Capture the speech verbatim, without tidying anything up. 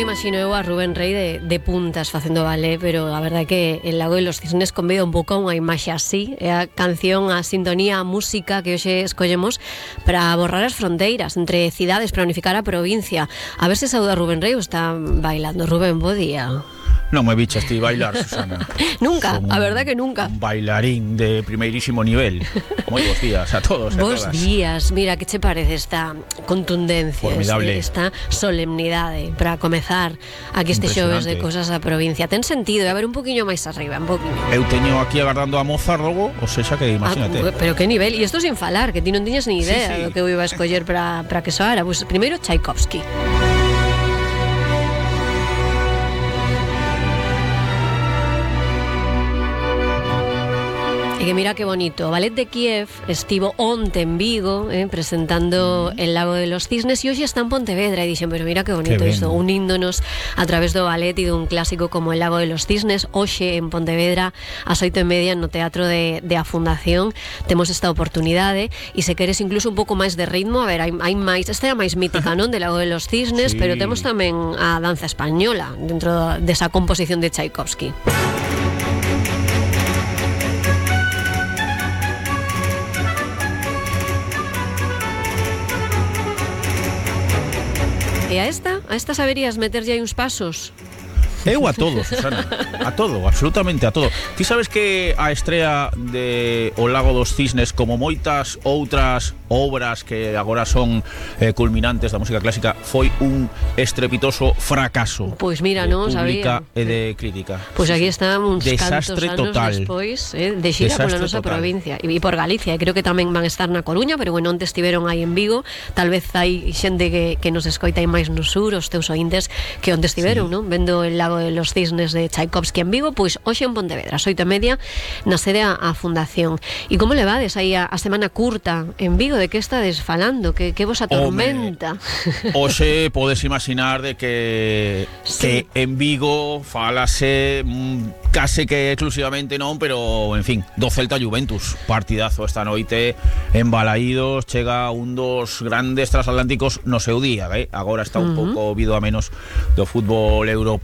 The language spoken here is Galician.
imagino eu a Rubén Rey de, de puntas facendo ballet, pero a verdade é que El Lago de los Cisnes convida un pouco a unha imaxe así. É a canción, a sintonía, a música que hoxe escollemos para borrar as fronteiras entre cidades, para unificar a provincia. A ver se saúda a Rubén Rey ou está bailando. Rubén, bo día. Non me bichas ti bailar, Susana. Nunca, Son a verdad que nunca. Un bailarín de primeirísimo nivel. Moi bons días a todos e a Bos todas. días, mira, que che parece esta contundencia, Formidable. esta solemnidade para comezar aquí este xoves de Cosas da Provincia. Ten sentido, a ver un poquinho máis arriba, un poquinho. Eu teño aquí agardando a Mozart logo, ou sexa que imagínate. Ah, pero que nivel, e isto sin falar, que ti non tiñas ni idea Sí, sí. do que eu iba a escoller para para que soara. Pues primeiro Tchaikovsky. E que mira que bonito, o Ballet de Kiev estivo onte en Vigo eh, presentando El Lago de los Cisnes e hoxe está en Pontevedra e dixen, pero mira que bonito que isto, uníndonos a través do ballet e dun clásico como El Lago de los Cisnes. Hoxe en Pontevedra ás oito e media no Teatro de, de a Fundación temos esta oportunidade e se queres incluso un pouco máis de ritmo, a ver, hai, hai máis, esta é a máis mítica, non? De Lago de los Cisnes, Sí. pero temos tamén a danza española dentro desa composición de Tchaikovsky. E a esta, a esta saberías meterlle aí uns pasos? Eu a todo, Susana. A todo, absolutamente a todo. Ti sabes que a estrea de O Lago dos Cisnes, como moitas outras obras que agora son eh, culminantes da música clásica, foi un estrepitoso fracaso. Pois mira, de non pública sabía. e de crítica. Pois aquí están uns Desastre cantos anos total. despois eh, de xira pola Desastre nosa total. provincia e por Galicia, e creo que tamén van estar na Coruña, pero bueno, onte estiveron aí en Vigo. Tal vez hai xente que, que nos escoita aí máis no sur, os teus ointes que onte estiveron, Sí. non? Vendo El Lago de los Cisnes de Tchaikovsky en Vigo, pois hoxe en Pontevedra, ás oito e media na sede a, a Fundación. E como levades aí a, a semana curta en Vigo? De que estades falando? Que, que vos atormenta? Hoxe podes imaginar de que Sí. que en Vigo falase mm, case que exclusivamente non, pero en fin, do Celta Juventus, partidazo esta noite en Balaídos, chega un dos grandes transatlánticos no seu día, eh? Agora está un Uh-huh. pouco vido a menos do fútbol europeo.